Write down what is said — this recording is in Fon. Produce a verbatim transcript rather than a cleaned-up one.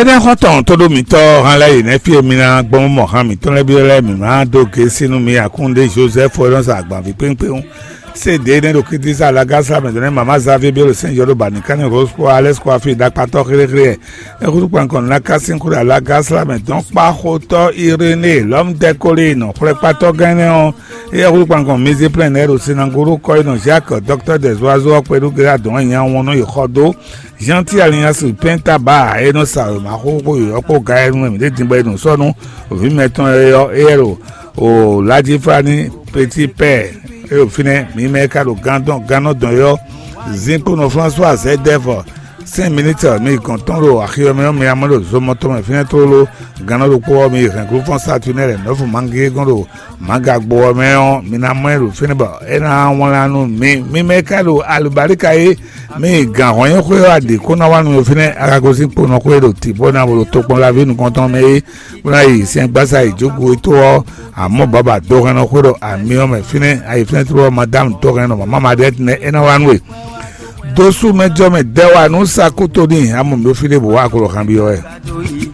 Énɛ́ xɔ́ntɔn tóɖó mǐtɔn han lɛ́ɛ yě nɛ́ fí e mi ná gbɔn mɔ han mǐtɔn lɛ́ɛ byɔ́ lɛ́ɛ mǐ má dó gě sín nú mi Akúndé Joseph Fɔlɔ́nsa agbanví kpéŋkpéŋ. Cédé nɛ́ ɖo Kítísá alágá sla mɛ dɔn nɛ́ mama Xavier byɔ́ ɖo Sɛn Jɔ́ ɖo bǎ ní kán ní Rose kpó Alɛ́s kpó afí ɖakpatɔ́ xéxéxé. Ɛxútú kpankɔn ná ká sín xú ɖo alágá sla mɛ dɔn kpá xotɔ́ Iréné lɔ́mú dɛkóli nɔ xwlɛ́kpatɔ́ gán énɛ́ ɔ́. Éyɛ́ xútú kpankɔn Mizé plɛ́n nɛ́ ɖo Sinagolo kɔ́ é nɔ Jacques Dɔktɔ́ Dɛzwazo ɔ́ kpé ɖó Gérard dɔn nyi awɔn nɔ yi xɔ dó. Jean ti Alliance pɛ́n tabá é nɔ sa wěma xóxó yɔ̌yɔ́ kpó ga e nu mɛ mǐ ɖe din bɔ è nɔ sɔ́ nú vǐ mɛtɔn e ɔ́, éyɛ́ ɖo o Lajifani Petit Père e ɖo fínɛ́, mǐ mɛ e ka ɖo gán dɔn gannɔ dɔn é ɔ́, Zinkponɔ François Zɛdɛ́v. Sɛn miniti mi gɔn tɔn ɖo axi ɔ́ mɛ ɔ́, mi amɔ ɖo zomɔ tɔn mɛ fínɛ́ tlóló. Gannɔ ɖokpó ɔ́, mi hɛn glófɔ́n Saturnɛ́ lɛ̌ nɔ́fu mangigé gɔ́n ɖo mǎgagbo ɔ́ mɛ ɔ́, mi ná mɔ ɛ ɖo fínɛ́ bɔ é ná wlán nú mi. Mi mɛ e ka ɖo alǔbáríka é, mi gǎn hɔn nyi xwé ɔ́ aɖě kó ná wá nú mi fínɛ́. A ka gosín kponɔ xwé ɖo tǐ bó ná bo ɖo tokpɔnlaví nukɔntɔn mɛ é, bó ná yi sɛngbásá yi jókòó tó ɔ́, amɔ̌ baba dó hɛn nɔ xwé ɖo ami ɔ́ mɛ fínɛ́. Ayi fínɛ́ tló ɔ́, madámu dó hɛn nɔ mama ma ɖɛ́ nɛ́ é ná wá nú we. Dósú mɛ jɔ mɛ dɛ́ wa nú sa kúto n'i, amɔ mi ɖó fí ɖé bǔ wá klo han byɔ́ wɛ.